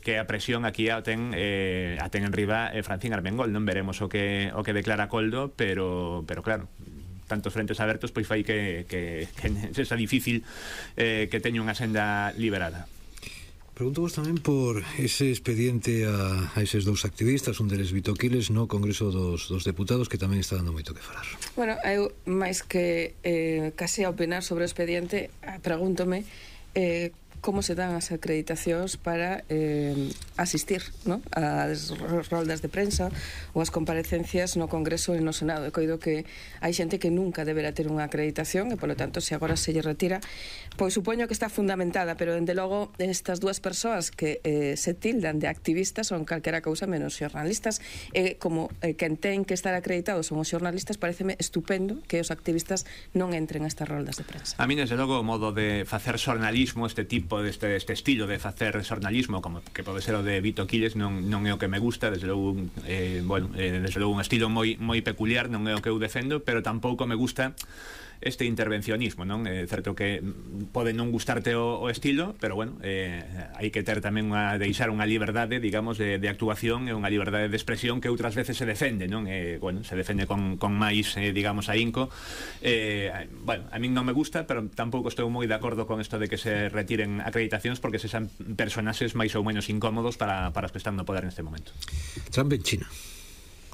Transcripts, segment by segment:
que a presión aquí a ten en riba Francín Armengol, non veremos o que declara Coldo, pero claro, tantos frentes abertos, pois fai que sexa difícil que teña unha senda liberada. Pregunto vos tamén por ese expediente a eses dous activistas, un deles Vito Quiles, no Congreso dos Deputados, que tamén está dando moito que falar. Bueno, eu, máis que case a opinar sobre o expediente, pregúntome como se dan as acreditacións para asistir, ¿no?, ás roldas de prensa ou as comparecencias no Congreso e no Senado. E coido que hai xente que nunca deberá ter unha acreditación e, polo tanto, se agora se lle retira, pois supoño que está fundamentada, pero, dende logo, estas dúas persoas que se tildan de activistas son calquera cousa menos xornalistas, e como quen ten que estar acreditados son os xornalistas, pareceme estupendo que os activistas non entren a estas roldas de prensa. A mí, desde logo, o modo de facer xornalismo, este tipo, este estilo de facer xornalismo, como que pode ser o de Vito Quiles, non é o que me gusta, desde logo, desde logo un estilo moi peculiar, non é o que eu defendo, pero tampouco me gusta este intervencionismo, non? É certo que pode non gustarte o estilo, pero bueno, hai que ter tamén deixar unha liberdade, digamos, de actuación e unha liberdade de expresión que outras veces se defende, non? Bueno, se defende con máis, digamos, ahínco. Bueno, a min non me gusta, pero tampouco estou moi de acordo con isto de que se retiren acreditacións, porque se son personaxes máis ou menos incómodos para os que están no poder neste momento. Trump en China.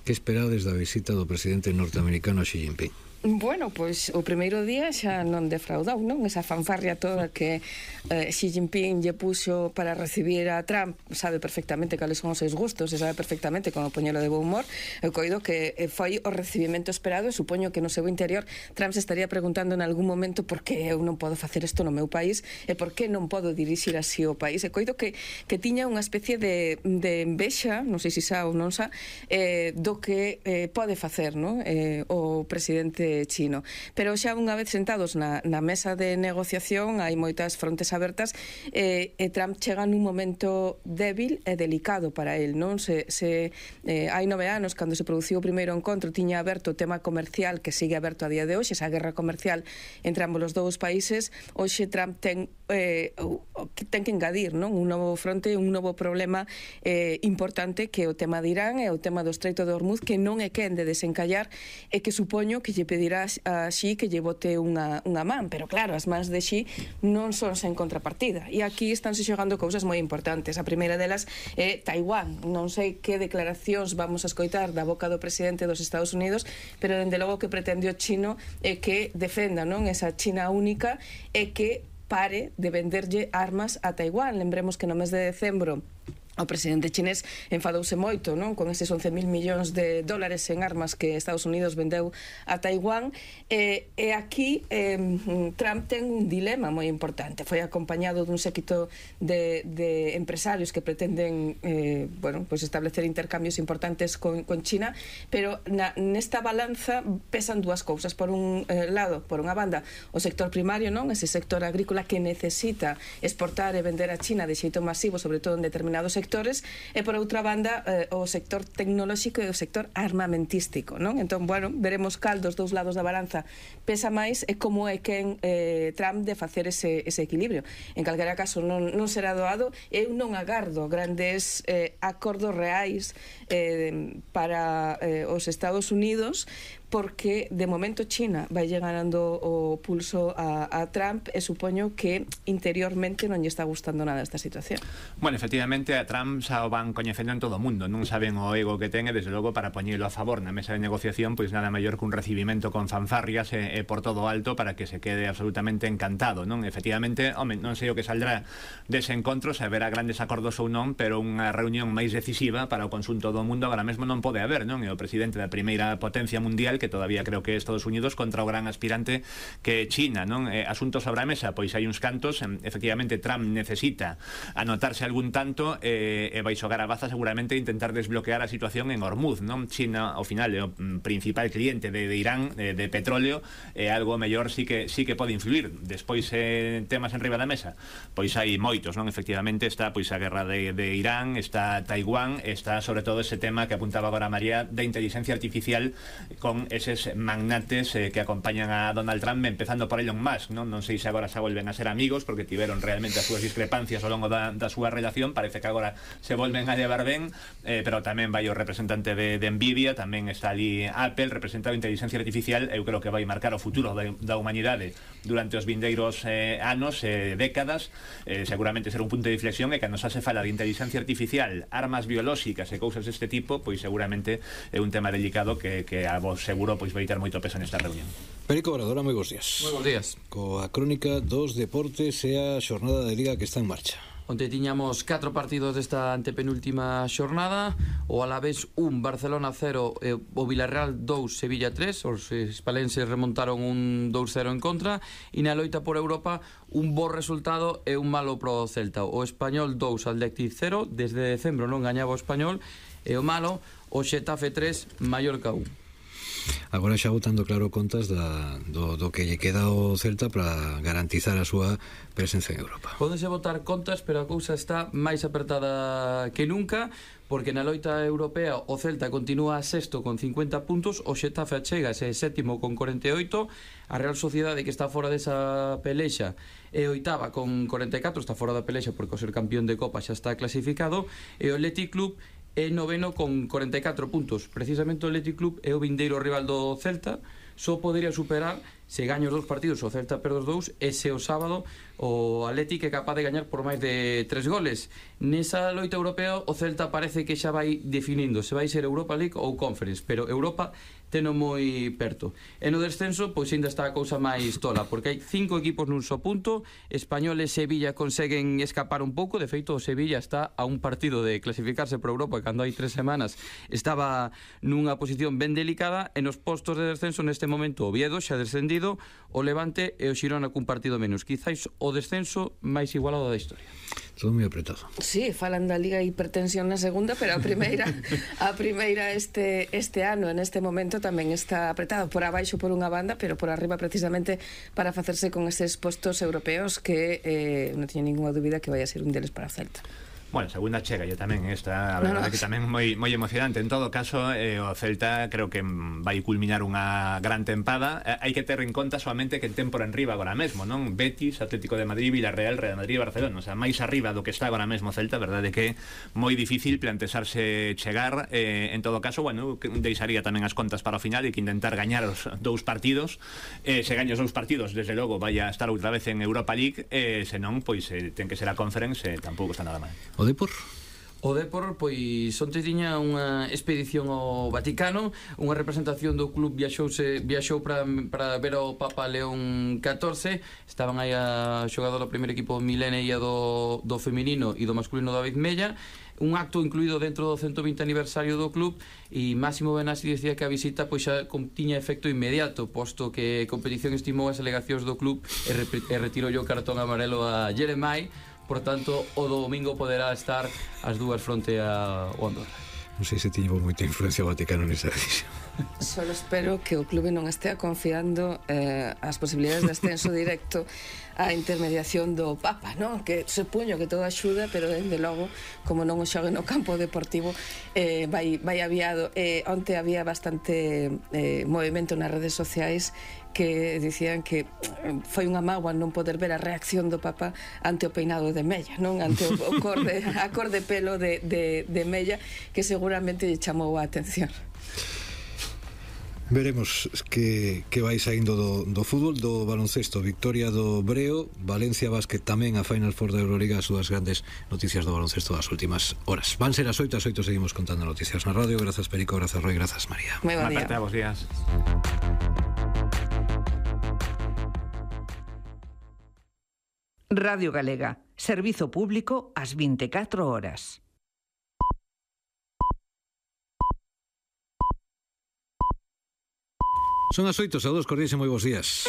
Que esperades da visita do presidente norteamericano Xi Jinping? Bueno, pois o primeiro día xa non defraudou, non? Esa fanfarria toda que Xi Jinping lle puxo para recibir a Trump, sabe perfectamente cales son os seus gustos e sabe perfectamente como poñelo de bo humor. Eu coido que foi o recibimento esperado e supoño que no seu interior Trump se estaría preguntando en algún momento por que eu non podo facer isto no meu país e por que non podo dirixir así o país. E coido que tiña unha especie de envexa, non sei se xa ou non xa, do que pode facer, non? O presidente chino. Pero xa unha vez sentados na mesa de negociación hai moitas frontes abertas e Trump chega nun momento débil e delicado para el, non? Hai 9 anos, cando se produciu o primeiro encontro, tiña aberto o tema comercial que sigue aberto a día de hoxe, esa guerra comercial entre ambos os dous países. Hoxe Trump ten que engadir, non? Un novo fronte, un novo problema importante, que é o tema de Irán e o tema do Estreito de Hormuz, que non é quen de desencallar e que supoño que lle pedirá a Xi que lle bote unha man, pero claro, as mans de Xi non son sen contrapartida, e aquí estánse xogando cousas moi importantes. A primeira delas é Taiwán. Non sei que declaracións vamos a escoitar da boca do presidente dos Estados Unidos, pero dende logo que pretende o chino é que defenda, non, esa China única e que pare de venderlle armas a Taiwán. Lembremos que no mes de decembro o presidente chinés enfadouse moito, non, con eses 11.000 millóns de dólares en armas que Estados Unidos vendeu a Taiwán, e aquí Trump ten un dilema moi importante. Foi acompañado dun séquito de empresarios que pretenden pues establecer intercambios importantes con China, pero nesta balanza pesan dúas cousas. Por un lado, por unha banda, o sector primario, non, ese sector agrícola que necesita exportar e vender a China de xeito masivo, sobre todo en determinados sectores, e por outra banda o sector tecnolóxico e o sector armamentístico, non? Entón, bueno, veremos cal dos dous lados da balanza pesa máis e como é quen Trump de facer ese equilibrio. En calquera caso non será doado. Eu non agardo grandes acordos reais para os Estados Unidos, porque de momento China vai ganando o pulso a Trump e supoño que interiormente non lle está gustando nada esta situación. Bueno, efectivamente a Trump xa o van coñecendo en todo o mundo, non saben o ego que ten e desde logo para poñelo a favor na mesa de negociación, pois nada maior que un recibimento con fanfarrias e por todo alto para que se quede absolutamente encantado, non? Efectivamente, home, non sei o que saldrá dese encontro, se haberá grandes acordos ou non, pero unha reunión máis decisiva para o conxunto do mundo agora mesmo non pode haber, non? E o presidente da primeira potencia mundial, que todavía creo que é Estados Unidos, contra o gran aspirante que é China, non? Asuntos sobre a mesa, pois hai uns cantos, efectivamente Trump necesita anotarse algún tanto e vai xogar a baza seguramente intentar desbloquear a situación en Hormuz, non? China ao final é o principal cliente de Irán de petróleo, e algo mellor sí que pode influir. Despois temas en riba da mesa, pois hai moitos, non? Efectivamente está pois a guerra de Irán, está Taiwán, está sobre todo ese tema que apuntaba agora María da inteligencia artificial con eses magnates que acompañan a Donald Trump, empezando por Elon Musk, non sei se agora se volven a ser amigos, porque tiveron realmente as súas discrepancias ao longo da súa relación. Parece que agora se volven a llevar ben, pero tamén vai o representante de Nvidia, tamén está ali Apple, representado a inteligencia artificial. Eu creo que vai marcar o futuro da humanidade durante os vindeiros anos, décadas. Seguramente será un punto de inflexión, e cando xa se fala de inteligencia artificial, armas biolóxicas e cousas deste tipo, pois seguramente é un tema delicado que a vos seguro pois vai ter moito peso nesta reunión. Perico Obrador, moi bons días. Moi bons días. Coa crónica dos deportes e a xornada de Liga que está en marcha. Onte tiñamos 4 partidos desta antepenúltima xornada. O Alavés 1, Barcelona 0, o Villarreal 2, Sevilla 3. Os hispalenses remontaron un 2-0 en contra. E na loita por Europa, un bo resultado e un malo pro Celta. O Español 2, Athletic 0. Desde decembro non gañaba o Español. E o malo, o Xetafe 3, Mallorca 1. Agora xa botando claro contas do que lle queda ao Celta para garantizar a súa presencia en Europa. Pódense botar contas, pero a cousa está máis apertada que nunca, porque na loita europea o Celta continúa sexto con 50 puntos, o Xetafe achégase sétimo con 48, a Real Sociedade, que está fora desa pelexa, é oitava con 44, está fora da pelexa porque o ser campeón de Copa xa está clasificado, e o Athletic Club é noveno con 44 puntos. Precisamente o Athletic Club é o vindeiro rival do Celta, só podería superar se gaña os 2 partidos o Celta perde os 2, e se o sábado o Athletic é capaz de gañar por máis de 3 goles. Nesa loita europea o Celta parece que xa vai definindo se vai ser Europa League ou Conference, pero Europa teno moi perto. E no descenso, pois ainda está a cousa máis tola, porque hai 5 equipos nun só punto. Español e Sevilla conseguen escapar un pouco. De feito, o Sevilla está a un partido de clasificarse para Europa, cando hai 3 semanas estaba nunha posición ben delicada. E nos postos de descenso neste momento o Oviedo xa descendido, o Levante e o Xirona cun partido menos. Quizáis o descenso máis igualado da historia. Todo moi apretado. Sí, falan da Liga Hipertensión na segunda, pero a primeira este ano, en este momento, tamén está apretado por abaixo por unha banda, pero por arriba precisamente para facerse con eses postos europeos que non teño ninguna dúbida que vai a ser un deles para o Celta. Bueno, segunda chega, yo tamén esta, a verdade que tamén moi emocionante. En todo caso, o Celta creo que vai culminar unha gran tempada. Hai que ter en conta solamente que ten por enriba agora mesmo, non? Betis, Atlético de Madrid, Villarreal, Real Madrid e Barcelona. O sea, máis arriba do que está agora mesmo Celta, verdade que moi difícil plantexarse chegar. En todo caso, bueno, deixaría tamén as contas para o final e que intentar gañar os 2 partidos. Se gaña os 2 partidos, desde logo vai a estar outra vez en Europa League. Se non, pois ten que ser a Conference, tampouco está nada mal. O Depor? O Depor, pois, onte tiña unha expedición ao Vaticano, unha representación do club viaxou para ver o Papa León XIV. Estaban aí a xogador do primeiro equipo Milene e do feminino e do masculino David Mella. Un acto incluído dentro do 120 aniversario do club, e Máximo Benassi dicía que a visita pois xa tiña efecto inmediato, posto que a competición estimou as alegacións do club e retirou o cartón amarelo a Jeremai. Por tanto, o domingo poderá estar as dúas fronte ao Andorra. Non sei se tiñemos moita influencia o Vaticano nesa decisión. Solo espero que o clube non estea confiando as posibilidades de ascenso directo á intermediación do Papa, non? Que supoño que todo axuda, pero dende logo, como non o xogue no campo deportivo, vai aviado. Onte había bastante movimento nas redes sociais que dicían que foi unha mágoa non poder ver a reacción do Papa ante o peinado de Mella, non? Ante a cor de pelo de Mella, que seguramente lle chamou a atención. Veremos que vai saindo do fútbol, do baloncesto. Victoria do Breo, Valencia Basket tamén a Final Four da Euroliga, as súas grandes noticias do baloncesto das últimas horas. Van ser as 8, seguimos contando noticias na radio. Grazas Perico, grazas Roy, grazas María. Moi bon día. Bos días. Radio Galega, servizo público ás 24 horas. Son as 8, saúdos cordiais e moi bons días.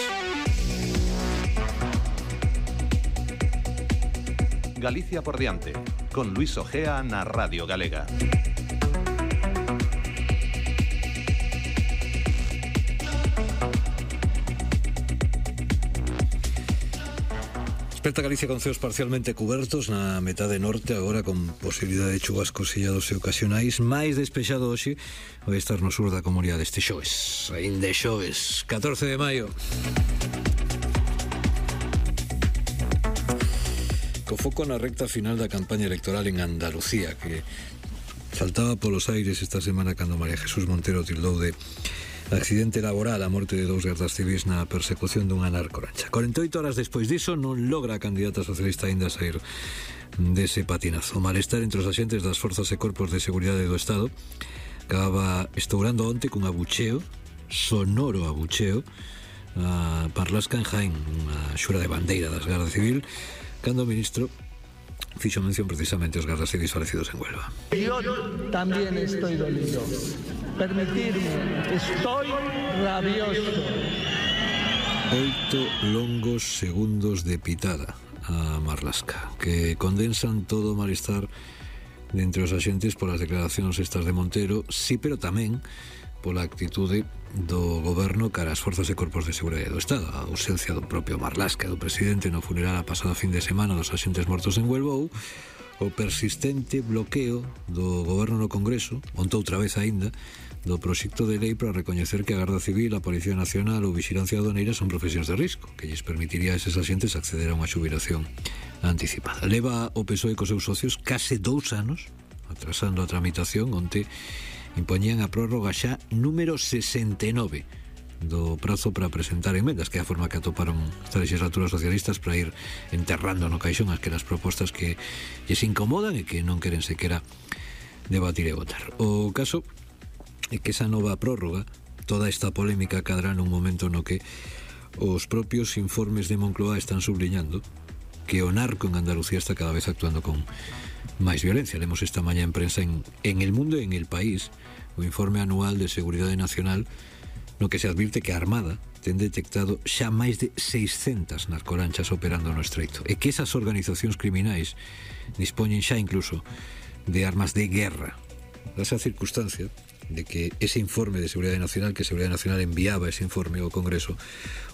Galicia por diante, con Luis Ojea na Radio Galega. Desperta Galicia con ceos parcialmente cubertos na metade norte, agora con posibilidade de chubascos illados e ocasionais. Máis despexado hoxe vai estar no sur da comunidade este xoves. Ainda xoves, 14 de maio. Co foco na recta final da campaña electoral en Andalucía, que saltaba polos aires esta semana cando María Jesús Montero tildou de accidente laboral a morte de 2 gardas civis na persecución dunha narcolancha. 48 horas despois diso non logra a candidata socialista aínda sair dese patinazo. O malestar entre os axentes das forzas e corpos de seguridade do Estado acaba estourando onte cun abucheo, sonoro abucheo, a Marlaska en Jaén, unha xura de bandeira das Garda Civil, cando o ministro fixo mención precisamente aos gardas civis falecidos en Huelva. Yo también estoy dolido. Permitirme, estoy rabioso. 8 longos segundos de pitada a Marlaska, que condensan todo o malestar de entre os axentes polas declaracións estas de Montero, sí, pero tamén pola actitude do goberno cara ás forzas e corpos de seguridade do Estado, a ausencia do propio Marlaska e do presidente no funeral a pasado fin de semana dos axentes mortos en Huelva, ou o persistente bloqueo do goberno no Congreso, onte outra vez aínda, do proxecto de lei para recoñecer que a Garda Civil, a Policía Nacional ou Vixilancia Aduaneira son profesións de risco, que lles permitiría a eses axentes acceder a unha xubilación anticipada. Leva o PSOE cos seus socios case 2 anos atrasando a tramitación, onte impoñían a prórroga xa número 69 do prazo para presentar emendas, que é a forma que atoparon esta legislatura socialistas para ir enterrando no caixón aquelas propostas que lles incomodan e que non queren sequera debatir e votar. O caso é que esa nova prórroga, toda esta polémica cadrá nun momento no que os propios informes de Moncloa están subliñando que o narco en Andalucía está cada vez actuando con máis violencia. Lemos esta mañá en prensa en El Mundo e en El País o informe anual de Seguridade Nacional, no que se advirte que a Armada ten detectado xa máis de 600 narcolanchas operando no estreito e que esas organizacións criminais dispoñen xa incluso de armas de guerra. Dase a circunstancia de que ese informe de Seguridade Nacional, que Seguridade Nacional enviaba ese informe ao Congreso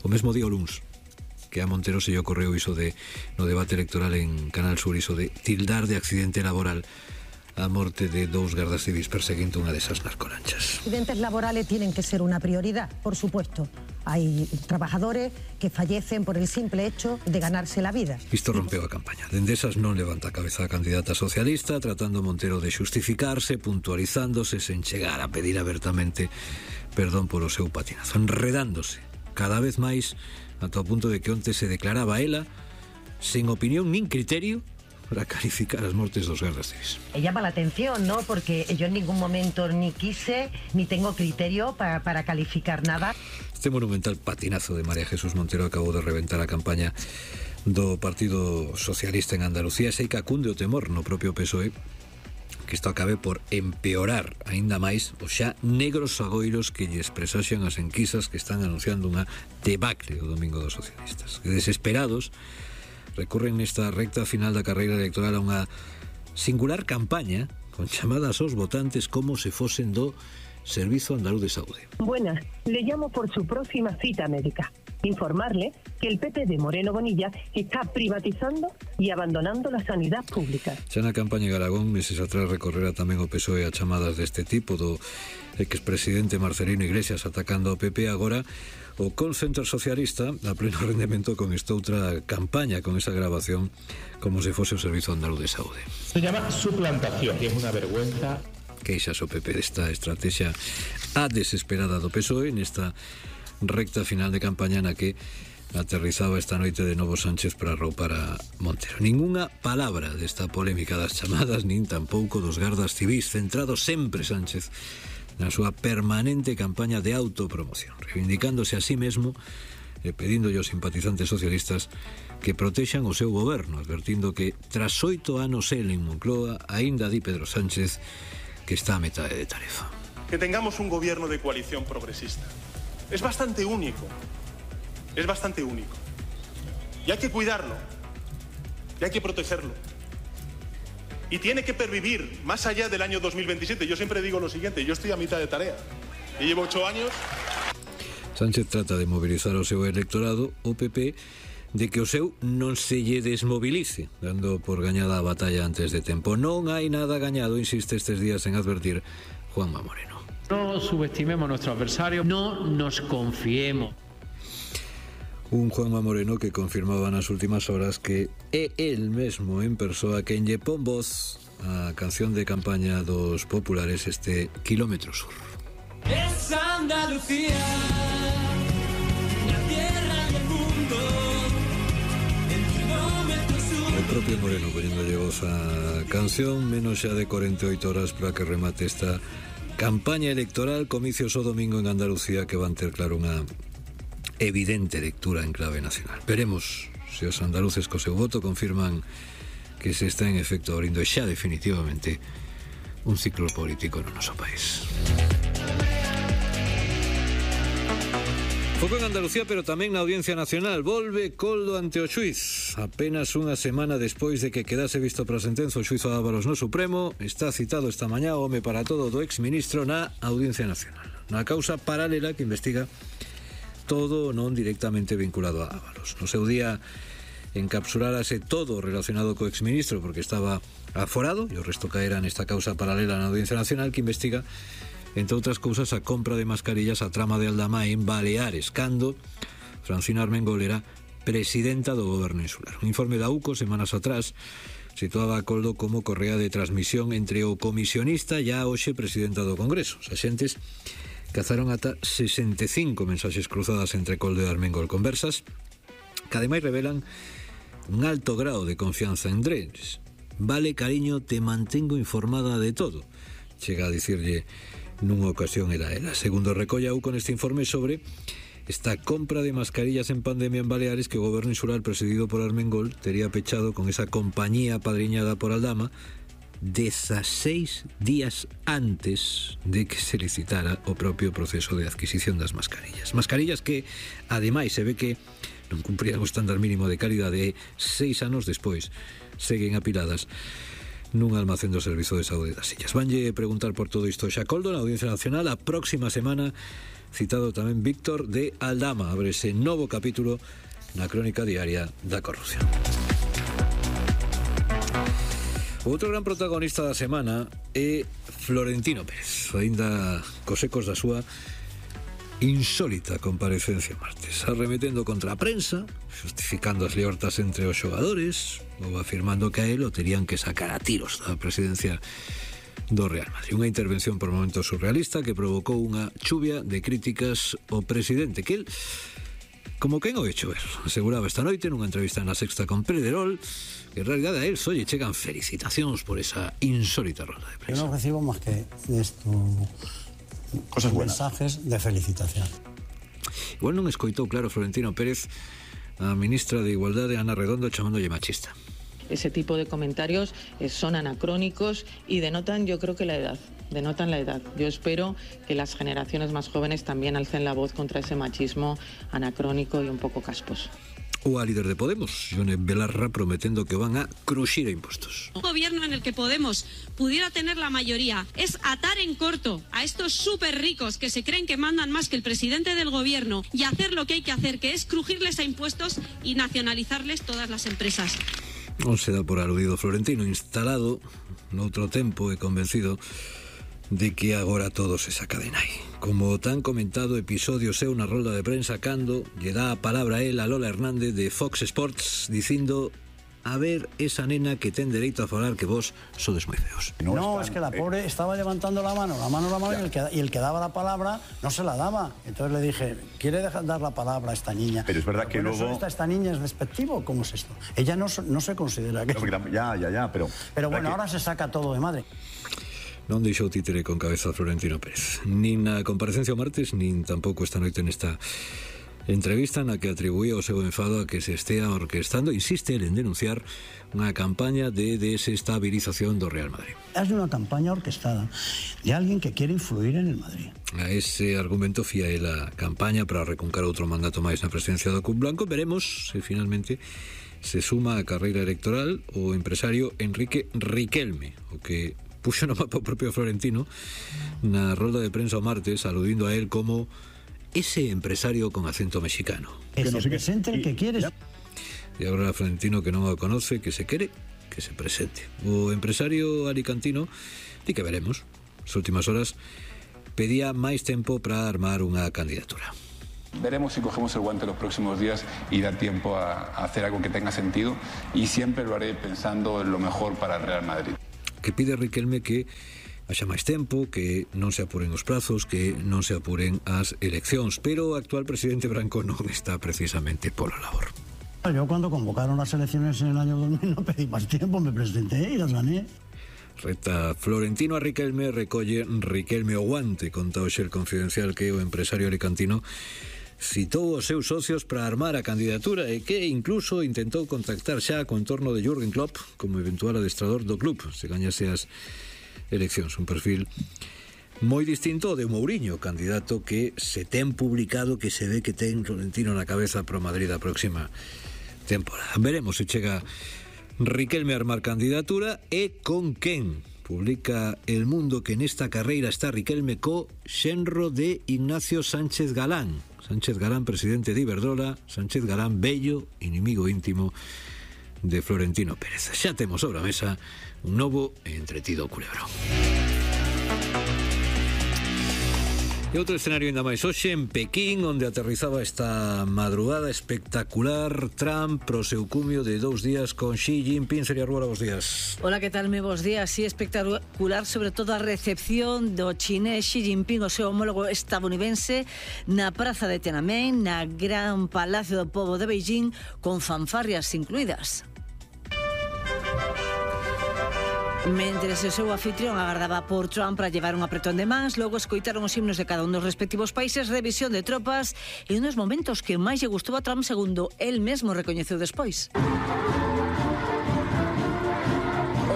o mesmo día o luns, que a Montero se lle ocorreu iso de no debate electoral en Canal Sur, iso de tildar de accidente laboral a morte de 2 gardas civis perseguindo unha desas narcolanchas. Accidentes laborales tienen que ser una prioridad, por supuesto. Hay trabajadores que fallecen por el simple hecho de ganarse la vida. Isto rompeu a campaña. Dende esas non levanta a cabeza a candidata socialista, tratando Montero de xustificarse, puntualizándose, sen chegar a pedir abertamente perdón polo seu patinazo, enredándose cada vez máis ata o punto de que onte se declaraba ela sen opinión nin criterio para calificar as mortes dos gardas civis. Llama la atención, ¿no? Porque yo en ningún momento ni quise ni tengo criterio para calificar nada. Este monumental patinazo de María Jesús Montero acabou de reventar a campaña do Partido Socialista en Andalucía. Sei que acunde o temor no propio PSOE que isto acabe por empeorar aínda máis os xa negros agoiros que lles presaxian as enquisas que están anunciando unha debacle o domingo dos socialistas. Que desesperados recurren nesta recta final da carreira electoral a unha singular campaña con chamadas aos votantes como se fosen do Servizo Andaluz de Saúde. Buenas, le llamo por su próxima cita médica. Informarle que el PP de Moreno Bonilla está privatizando y abandonando la sanidad pública. Xa na campaña de Aragón, meses atrás recorrera tamén o PSOE a chamadas deste tipo do expresidente Marcelino Iglesias atacando ao PP. Agora o call center socialista a pleno rendemento con esta outra campaña, con esa grabación como se fose o Servizo Andaluz de Saúde. Se llama suplantación, que es una vergüenza. Queixas o PP desta estrategia a desesperada do PSOE nesta recta final de campaña na que aterrizaba esta noite de novo Sánchez para arroupar a Montero. Ninguna palabra desta polémica das chamadas, nin tampouco dos gardas civis, centrado sempre Sánchez na súa permanente campaña de autopromoción, reivindicándose a sí mesmo e pedíndolle aos simpatizantes socialistas que protexan o seu goberno, advertindo que tras 8 anos el en Moncloa, aínda di Pedro Sánchez que está a metade de tarefa. Que tengamos un gobierno de coalición progresista es bastante único, y hay que cuidarlo, y hay que protegerlo, y tiene que pervivir más allá del año 2027. Yo siempre digo lo siguiente, yo estoy a mitad de tarea y llevo 8 años. Sánchez trata de movilizar o seu electorado, o PP de que o seu non se lle desmovilice, dando por gañada a batalla antes de tempo. Non hai nada gañado, insiste estes días en advertir Juanma Moreno. No subestimemos a nuestro adversario, no nos confiemos. Un Juanma Moreno que confirmaba nas últimas horas que é el mesmo en persoa quen lle pon voz a canción de campaña dos populares, este Kilómetro Sur. Es Andalucía, la tierra del mundo, el kilómetro sur. O propio Moreno poñéndolle voz a canción, menos xa de 48 horas para que remate esta campaña electoral, comicios o domingo en Andalucía que van ter claro unha evidente lectura en clave nacional. Veremos se os andaluces co seu voto confirman que se está en efecto abrindo xa definitivamente un ciclo político no noso país. Foco en Andalucía, pero tamén na Audiencia Nacional. Volve Coldo ante o xuiz. Apenas unha semana despois de que quedase visto para a sentenza o xuizo Ábalos no Supremo, está citado esta mañá o home para todo do exministro na Audiencia Nacional, na causa paralela que investiga todo non directamente vinculado a Ábalos. No seu día encapsulárase todo relacionado co exministro porque estaba aforado e o resto caera nesta causa paralela na Audiencia Nacional que investiga, entre outras cousas, a compra de mascarillas a trama de Aldama en Baleares, cando Francina Armengol era presidenta do goberno insular. Un informe da UCO semanas atrás situaba a Coldo como correa de transmisión entre o comisionista e a hoxe presidenta do Congreso. Os axentes cazaron ata 65 mensaxes cruzadas entre Coldo e Armengol, conversas que ademais revelan un alto grado de confianza entre eles. Vale, cariño, te mantengo informada de todo, chega a dicirlle nunha ocasión era ela. Segundo recolle a UCO neste informe sobre esta compra de mascarillas en pandemia en Baleares que o goberno insular presidido por Armengol tería pechado con esa compañía apadriñada por Aldama 16 días antes de que se licitara o propio proceso de adquisición das mascarillas. Mascarillas que, ademais, se ve que non cumprían o estándar mínimo de calidade e 6 anos despois seguen apiladas nun almacén do Servizo de Saúde das Illas. Vanlle preguntar por todo isto xa Coldo na Audiencia Nacional. A próxima semana citado tamén Víctor de Aldama. Abre ese novo capítulo na crónica diaria da corrupción. O outro gran protagonista da semana é Florentino Pérez, aínda cos ecos da súa insólita comparecencia martes, arremetendo contra a prensa, justificando as liortas entre os xogadores ou afirmando que a él o terían que sacar a tiros da presidencia do Real Madrid. Unha intervención por momentos surrealista que provocou unha chuvia de críticas ao presidente, que el, como quen o hecho ver, aseguraba esta noite nunha entrevista na Sexta con Pedrerol que en realidad a él só lle chegan felicitacións por esa insólita ronda de prensa. Yo no recibo más que esto, cosas buenas, mensajes de felicitación. Igual non escoitou claro Florentino Pérez a ministra de Igualdade Ana Redondo chamándolle machista. Ese tipo de comentarios son anacrónicos y denotan, yo creo que la edad, denotan la edad. Yo espero que las generaciones más jóvenes también alcen la voz contra ese machismo anacrónico y un poco casposo. O a líder de Podemos, Ione Belarra, prometendo que van a cruxir a impostos. Un gobierno en el que Podemos pudiera tener la mayoría es atar en corto a estos súper ricos que se creen que mandan más que el presidente del gobierno y hacer lo que hay que hacer, que es crujirles a impuestos y nacionalizarles todas las empresas. Non se dá por aludido Florentino, instalado noutro tempo e convencido de que agora todo se saca de nai. Como o tan comentado episodio seu na rolda de prensa cando lle dá a palabra a él a Lola Hernández de Fox Sports dicindo: a ver esa nena que ten dereito a falar que vos sodes moi feos. No, es que la pobre estaba levantando la mano y el que daba la palabra no se la daba. Entonces le dije, ¿quiere dar la palabra a esta niña? Pero es verdad que luego... ¿Esta niña es despectivo? ¿Cómo es esto? Ella no se considera que... No, ya, pero... Pero bueno, ahora se saca todo de madre. Non deixou títere con cabeza Florentino Pérez, nin na comparecencia o martes, nin tampouco esta noite nesta entrevista na que atribuía o seu enfado a que se estea orquestando, insiste el en denunciar unha campaña de desestabilización do Real Madrid. Es una campaña orquestada de alguien que quiere influir en el Madrid. A ese argumento fía el a campaña para recuncar outro mandato máis na presidencia do Club Blanco. Veremos se finalmente se suma a carreira electoral o empresario Enrique Riquelme, o que puxo no mapa o propio Florentino na rolda de prensa o martes, aludindo a él como ese empresario con acento mexicano. Que se presente el que quiere. e agora Florentino, que non o conoce, que se quere, que se presente. O empresario alicantino di que veremos. As últimas horas pedía máis tempo para armar unha candidatura. Veremos si cogemos el guante los próximos días y dar tiempo a hacer algo que tenga sentido, y siempre lo haré pensando en lo mejor para el Real Madrid. Que pide Riquelme que haxa máis tempo, que non se apuren os prazos, que non se apuren as eleccións, pero o actual presidente branco non está precisamente pola labor. Yo cuando convocaron las elecciones en el año 2000 no pedí más tiempo, me presenté y las gané. Reta Florentino a Riquelme, recolle Riquelme o guante, conta hoxe el Confidencial que o empresario alicantino citou os seus socios para armar a candidatura e que incluso intentou contactar xa co entorno de Jürgen Klopp como eventual adestrador do club, se gañase as eleccións. Un perfil moi distinto ao de Mourinho, candidato que se ten publicado que se ve que ten Florentino na cabeza pro Madrid a próxima temporada. Veremos se chega Riquelme a armar candidatura e con quen. Publica El Mundo que nesta carreira está Riquelme co xenro de Ignacio Sánchez Galán. Sánchez Galán, presidente de Iberdrola, Sánchez Galán, bello inimigo íntimo de Florentino Pérez. Xa temos sobre a mesa un novo e entretido culebrón. E outro escenario ainda máis hoxe en Pequín, onde aterrizaba esta madrugada espectacular Trump pro seu cumio de 2 días con Xi Jinping. Sería Ruora, bos días. Hola, que tal? Moi bos días. Sí, espectacular, sobre todo a recepción do chinés Xi Jinping, o seu homólogo estadounidense, na praza de Tiananmen, na gran Palacio do Pobo de Beijing, con fanfarrias incluídas. Mentres o seu anfitrión agardaba por Trump para llevar un apretón de mans, logo escoitaron os himnos de cada un dos respectivos países, revisión de tropas e unos momentos que máis lle gustou a Trump, segundo el mesmo recoñeceu despois.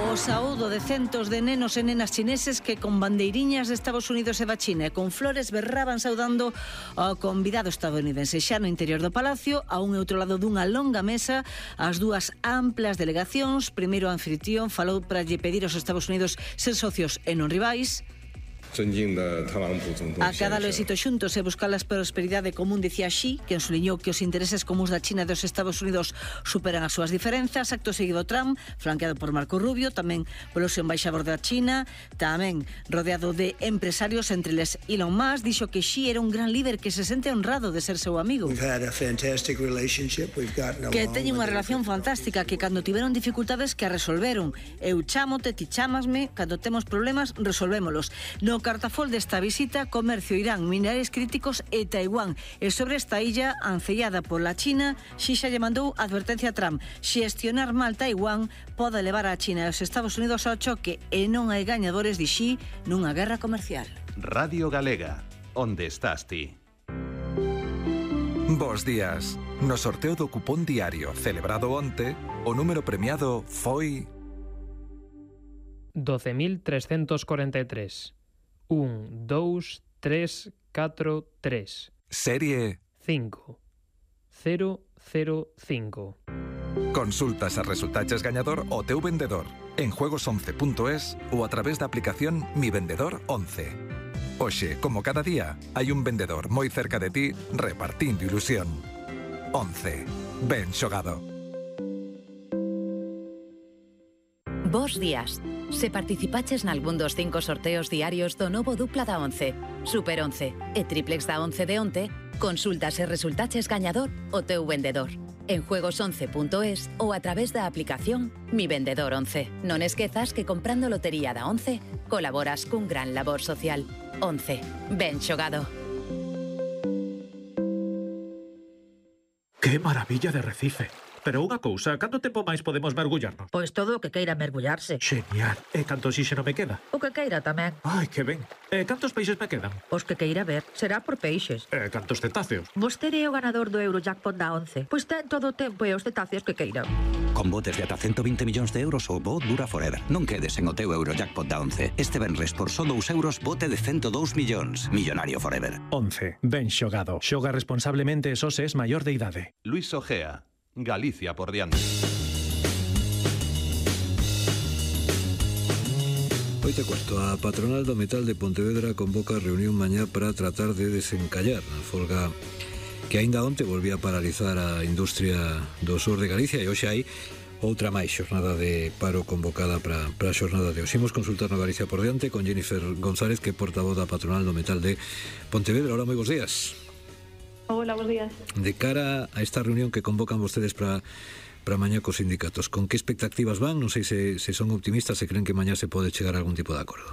O saúdo de centos de nenos e nenas chineses que con bandeiriñas de Estados Unidos e da China e con flores berraban saudando ao convidado estadounidense. Xa no interior do palacio, a un e outro lado dunha longa mesa, as dúas amplas delegacións. Primeiro o anfitrión falou para lle pedir aos Estados Unidos ser socios e non rivais. Acadar o éxito xuntos e buscar a prosperidade común, dicía Xi, que ensuliñou que os intereses comuns da China e dos Estados Unidos superan as súas diferenzas. Acto seguido Trump, flanqueado por Marco Rubio, tamén polo seu embaixador da China, tamén rodeado de empresarios, entre eles Elon Musk, dixo que Xi era un gran líder que se sente honrado de ser seu amigo, que teñen unha relación fantástica, que cando tiveron dificultades que a resolveron. Eu chámote, ti chámasme, cando temos problemas resolvémolos. No cartafol desta visita, comercio, Irán, minerales críticos e Taiwán. E sobre esta illa ancellada pola China, Xi xa lle mandou advertencia a Trump: xestionar mal Taiwán pode levar a China e os Estados Unidos ao choque e non hai gañadores, di Xi, nunha guerra comercial. Radio Galega, onde estás ti? Bos días. No sorteo do cupón diario celebrado onte, o número premiado foi 12.343. 1, 2, 3, 4, 3. Serie 5, 0, 0, 5. Consultas a resultaches gañador o teu vendedor en juegos11.es ou a través da aplicación Mi Vendedor 11. Hoxe, como cada día, hai un vendedor moi cerca de ti repartindo ilusión. 11. Ben xogado. Bos días. Se participaches nalgún dos 5 sorteos diarios do novo dupla da 11, Super 11 e triplex da 11 de onte, consultas e resultaches gañador o teu vendedor en juegos11.es ou a través da aplicación Mi Vendedor 11. Non esquezas que comprando lotería da 11 colaboras cun gran labor social. 11. Ben xogado. ¡Qué maravilla de Recife! Pero unha cousa, canto tempo máis podemos mergullarnos? Pois todo o que queira mergullarse. Genial. E canto oxígeno me queda? O que queira tamén. Ai, que ben. E cantos peixes me quedan? Os que queira ver. Será por peixes. E cantos cetáceos? Vostede é o ganador do Eurojackpot da 11. Pois ten todo o tempo e os cetáceos que queira. Con botes de ata 120 millóns de euros, o bo dura forever. Non quedes en o teu Eurojackpot da 11. Este venres por só 2 euros, bote de 102 millóns. Millonario forever. 11. Ben xogado. Xoga responsablemente e só se es maior de idade. Luis Ojea, Galicia por diante. 8:15. A patronal do metal de Pontevedra convoca reunión mañá para tratar de desencallar a folga que aínda onte volvía a paralizar a industria do sur de Galicia, e hoxe hai outra máis xornada de paro convocada para a xornada de hoxe. Imos consultar no Galicia por diante con Jennifer González, que é portavoz da patronal do metal de Pontevedra. Hola, moi bons días. Hola, bons días. De cara a esta reunión que convocan vostedes para mañá cos sindicatos, con que expectativas van? Non sei se son optimistas, se creen que mañá se pode chegar a algún tipo de acordo.